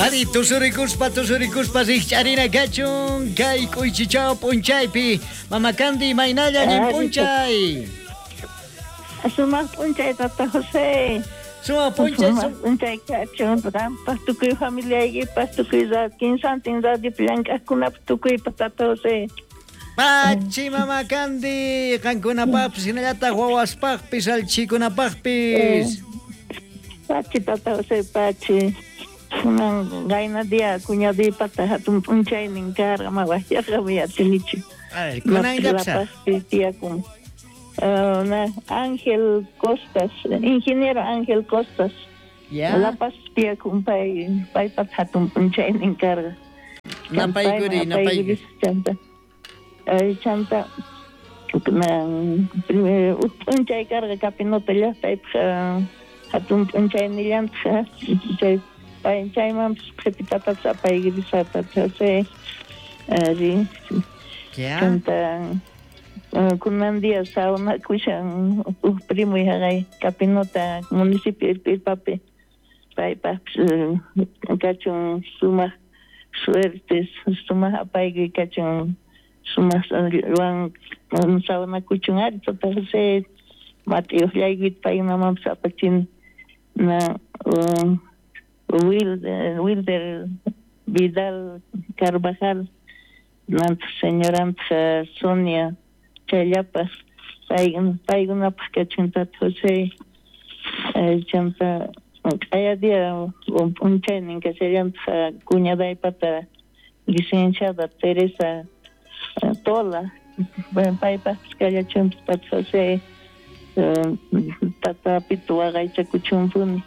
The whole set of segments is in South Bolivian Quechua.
Ari tusurikuspa tusurikuspa rikch'arina kachun kay k'uychichaw p'unchaypi. Mama Candy, imaynalla allin p'unchay. Sumaq p'unchay tata José. Sumaq p'unchay. Sumaq p'unchay kachun qampaq tukuy familiaykipaq tukuy kinsantin radiopi llank'aqkunapaq tukuypaq tata José. Pachi Mama Candy, qankunapaqpis hinallataq wawaspaqpis allchhikunapaqpis. Pachi tata José, pachi. Kunan qayna día cuñaduypata hatun p'unchaynin karqa, ma wajyarqamuy atinichu. A ver, kunan La llapsa. Pazpi tiyakun. Ángel Costas, ingeniero Ángel Costas. Ya. La Paz tiyakun pay, paypata hatun p'unchaynin karqa. Napaykuri, napaykuri. Chanta. Chanta uj p'unchay karqa Capinota llaqtaypaq hatun p'unchaynillantaq chay pay chaymanpis qhipitatapis apaykirisqa tata José. Ari. Ya. Chanta kunan día sawnakushan uj primoy haqay Capinota municipio Irpirpapi paypaqpis kachun sumaq suerte sumaq apaykuy kachun sumaq wan sawnakuchun ari tata José mat'iyuqllaykita paykunamanpis apachin na Wilder Vidal Carvajal nantaq señorantaq Sonia chayllapaq paykunapaq kachun tata José. Chanta q'aya día p'unchaynin kashallantaq cuñadaypata licenciada Teresa Tola paypaqpis kallachunpis tata José tata Pito waqaychakuchunpuni.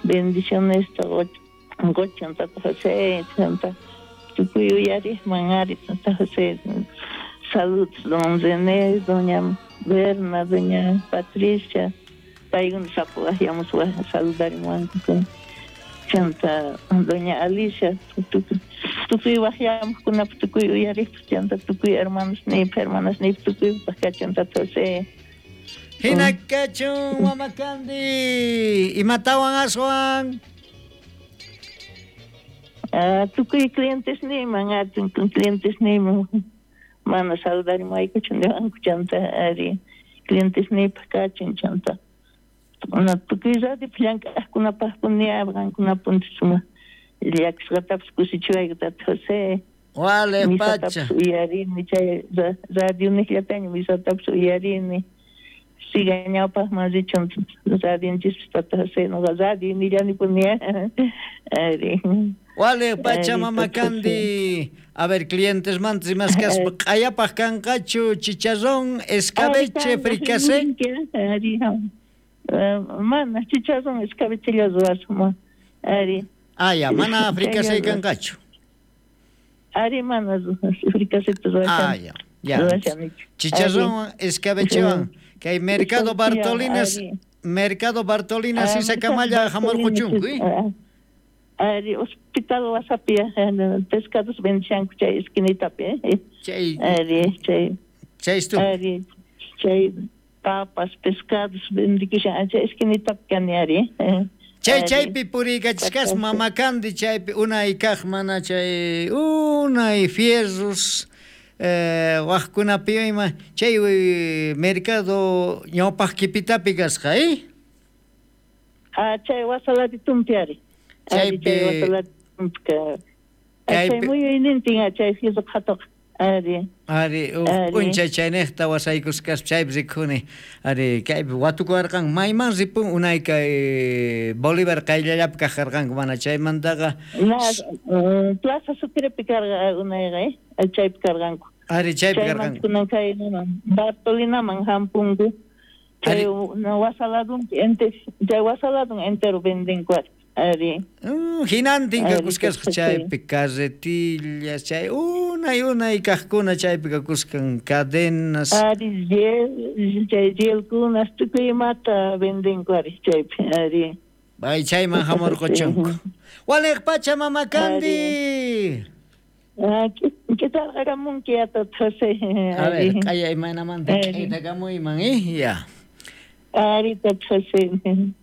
Bendiciones qochan tata José chanta tukuy uyariqman ari tata José. Saludos don René, doña Berna, doña Patricia, paykuna sapo waqyamuspa saludarimuwanku. Chanta doña Alicia, tukuy waqyamuqkunapaq tukuy uyariqpaq chanta tukuy hermanosniypaq hermanasniypaq tukuypaq kachun tata José. Hina kachun Mama Candy, imatawan aswan? Tukuy clientesniyman, clientesniyman mana saludarimuwaykuchu niwanku chanta ari clientesniypaq kachun chanta tukuy radiopi llank'aqkunapaqpuni qankunapuni sumaq llakisqatapis kusichiwayku tata José. Wale Misatapis pacha. uyarini chay radio niqllataña misatapis uyarini. Siga ñawpaqman richun radionchispis tata José, noqa radio nillanipuni. Ari. Wale pacha Ari, Mama tata José. Candy. A ver, clientes mantas y más caspa. Q'ayapaq kanqachu chicharrón, escabeche, fricasé. Ari, mana chicharrón, escabeche ruwasuma. Ari. Ah, ya, mana fricasé kanqachu. Ari, mana fricasé ruwashan. Ah, ya, ya. Ruwashanichu. Chicharrón, escabechewan. Kay Mercado Bartolinas, Ari. Mercado Bartolinas Isakamalla hamurquchunku, eh? Ari, hospital wasapi pescados vendishanku chay esquinitapi, eh? Chay. Ari, chay. Chay estu. Ari, chay papas, pescados vendikushan chay esquinitapi kani ari. Chay Ari. chaypi puriykachishkas Mama Candy chaypi unay kaq mana chay unay fierros waqkunapi ima chay mercado ñawpaq kipitapi kasqa, eh? Ah, chay wasaladitumpi ari. Ari, Chaypi chay wasaladitumpi ka. Chay Chaypi muyuynintin chay fierro qhatuq. Ari. Ari, uj Ari. p'unchay chayniqta wasaykusqaspa chaypi rikhuni. Ari, kaypi watukuwarqanku mayman ripun unay kay Bolívar qayllallapi kaqarqanku mana chaymantaqa. Na, Plaza Sucrepi karqa unayqa, eh? Chaypi karqanku. Ari, chaypi Chaymanta karqanku. kunan kay Bartolinaman hampunku. Chay wasaladunpi chay wasaladun entero vendenku ari. Ari. Hinantin Ari, kakusqasqa chaypi. chaypi carretillas, chay unay unay kaqkuna chaypi kakusqan cadenas. Ari, chay yelkunas tukuy imata vendenku ari chaypi, ari. Bay chayman hamurquchunku. Waliq pacha Mama Candy. K'itarqaramunki tata José. A ver, q'aya imaynamanta Ari. k'aytakamuyman, eh? Ya. Ari, Tata José.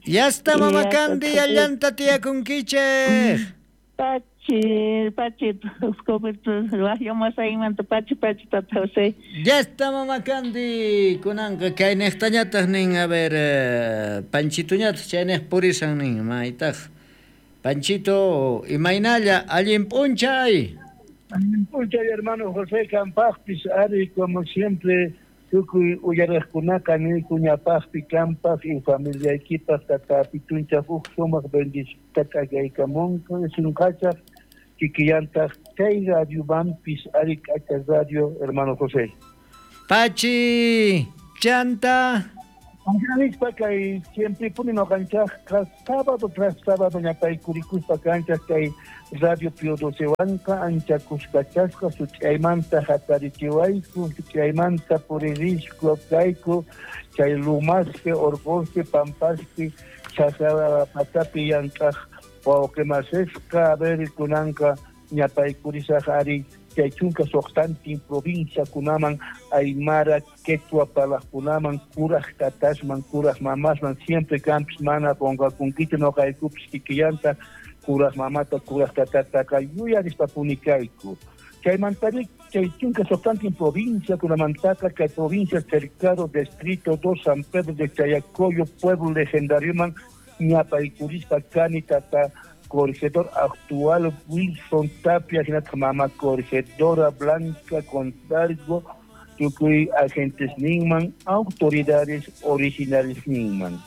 Ya está, Mama Ya, Candy, Tata José. allanta tiyakunkichej. Pachi, pachi, wajyamasqaymanta pachi, pachi, Tata José. Ya está, Mama Candy, kunanqa kaynejtañataj nin, a ver, Panchituñataj chaynej purisan nin, maytaj. Panchito, imaynalla, allin p'unchay. Allin p'unchay, hermano José Campajpis, ari, como siempre, tukuy uyarejkunaqa niyku ñapajpi kampaj y familiaykipaj tata Pitunchaj uj sumaq bendicita k'akaykamunqa sunqachaj kikillantaj chay radiomanpis ari k'acha radio, hermano José. Pachi, chanta. Nispa kay siempre puni noqanchajqa sábado tras sábado ñapaykurikuspa kanchaj kay radio Pío Docewanqa ancha kuskachasqa such'aymanta hatarichiwayku, such'aymanta puririsku kayku chay lumaspi, orqospi, pampaspi, chakra patapi llank'aj wawqimasisqa, a ver kunanqa ñapaykurisaj ari chay chunka suqtantin provinciakunaman Aymara, Quechua parlaqkunaman, kuraj tatasman, kuraj mamasman, siempre kampis mana qonqakunkichu noqaykupis kikillanta kuraj mamata, kuraj tatataqa yuyarispapuni kayku. Chaymantari chay chunka suqtantin provinciakunamantaqa kay provincia Cercado, Distrito 2, San Pedro de Chayacoyo, pueblo legendarioman ñapaykurispa kani tata corregidor actual Wilson Tapia, hinataq mama corregidora Blanca Contargo, tukuy agentes ninman, autoridades originales ninman.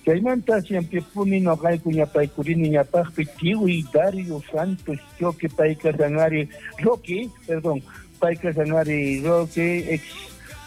Chaymanta siempre puni noqayku ñapaykurini ñapajpi tiwi Dario Santos Choque payka sanari Roque, perdón, payka sanari Roque, ex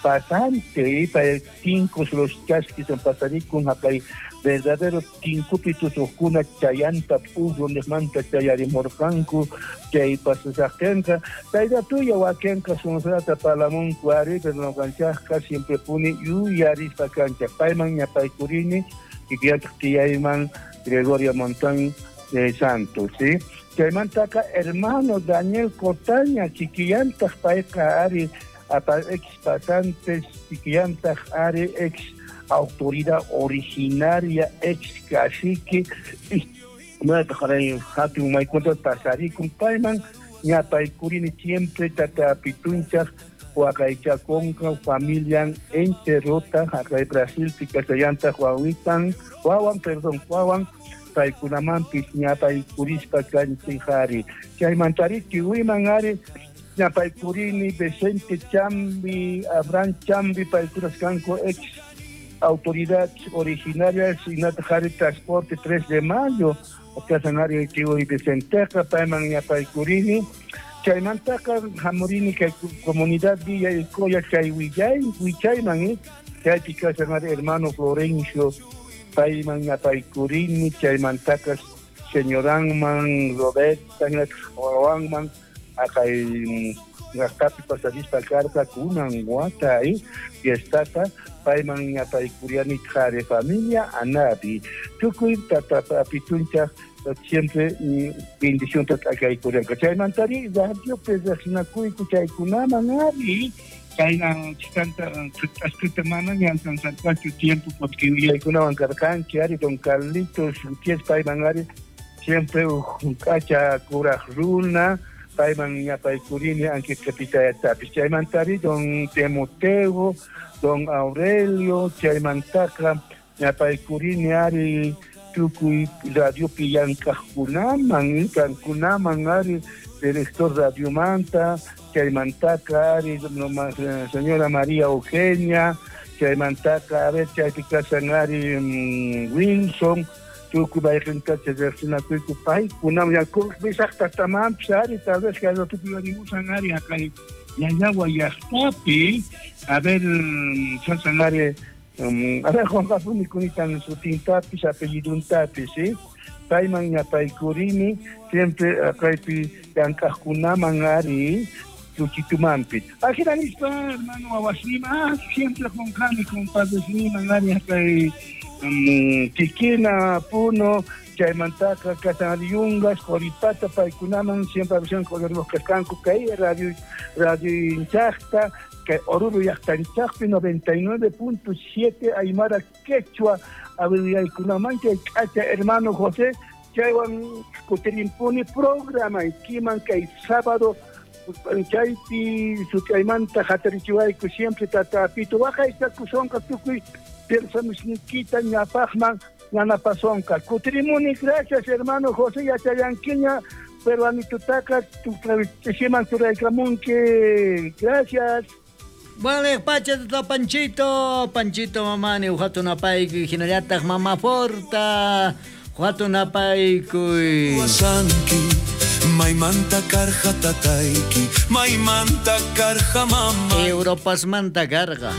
pasante, pay tinkos los chasquis en pasarikun haqay verdadero tinkupi tusuqkuna chayanta p'uyu niqmanta chayarimurqanku chay pasasaqtinqa tayratuya wakinqa sunsurata parlamunku ari, pero noqanchajqa siempre puni yuyarispa kanchaj payman ñapaykurini kikillantaq tiyayman Gregorio Montón de Santos, ¿sí? Chaymantaqa hermano Daniel Cotaña kikillantaq payqa ari ex pasantes kikillantaq ari ex autoridad originaria, ex cacique, hatun maykunta pasarikun payman ñapaykurini siempre tata Pitunchaj waqaychakunqa familian enterota haqay Brasilpi kasallantaq wawitan wawan, perdón, wawan paykunamanpis ñapaykurispa kanchik ari. Chaymantari kiwiman ari ñapaykurini Vicente Chambi, Abraham Chambi paykunas kanku ex autoridad originaria hinataq ari transporte 3 de mayo kasan ari tiwi Vicenteqa payman ñapaykurini. Chaymantaqa hamurini kay comunidad Villa Ilcoya chay willay wichayman chaypi kasan ari hermano Florencio payman ñapaykurini. Chaymantaqa señoranman Roberta wawanman aqay llaqtapi pasarispa karqa kunan wata fiestata payman ñapaykuriani qhari familia Anabi tukuy tata Pitunchaj siempre bendición t'akaykurianqa. Chaymantari radiopi riqsinakuyku chaykunaman ari chayna chikanta ashkata mana ñantansarqachu tiempo porque willaykunawan karqanchik ari don Carlitos Gutiérrez payman ari siempre uj k'acha kuraj runa payman ñapaykurini ankiqapitayatapis. Chaymantari don Timoteo, don Aurelio, chaymantaqa ñapaykurini ari tukuy radiopi llank'aqkunaman, kankunaman ari director radiomanta, chaymantaqa ari señora María Eugenia, chaymantaqa a ver chaypi kasan ari Wilson, tukuy bayqintacha riqsinakuyku paykunaman yakupisaq tatamanpis ari tal vez kay ratupi yarimusan ari haqay Llallawa llaqtapi a ver sasan ari a ver qunqapuni kunitan sutintapis apelliduntapis, ¿sí? Payman ñapaykurini siempre kaypi llank'aqkunaman ari Luchitumanpi. Ajina nispa hermano wawasnima siempre qunqani compadresniman ari haqay Tiquina, Puno, Chaymantaqa kashan Yungas, Coripata, paykunaman siempre avisanku uyarimuq kasqanku kay radio radioinchaqta, kay Oruro llaqtanchaqpi 99.7 Aymara Quechua abriyaykunaman chay k'acha hermano José chaywan kutirimpuni programaykiman kay sábado chaypi sut'aymanta hatarichiwayku siempre tata Pito waqaychakusonqa tukuy pensamisniykita ñapaqman yanapasonqa. Kutirimuni, gracias hermano José, yachallankiña peruanitutaqa ch'isiman churaykamunki. Gracias. Vale, pacha tata Panchito, Panchito mamani, uhatunapaykuy, hinallataq mama Forta, uhatunapaykuy. Wasanki, maymanta karqa tatayki, maymanta karqa mama. Europasmanta karqa.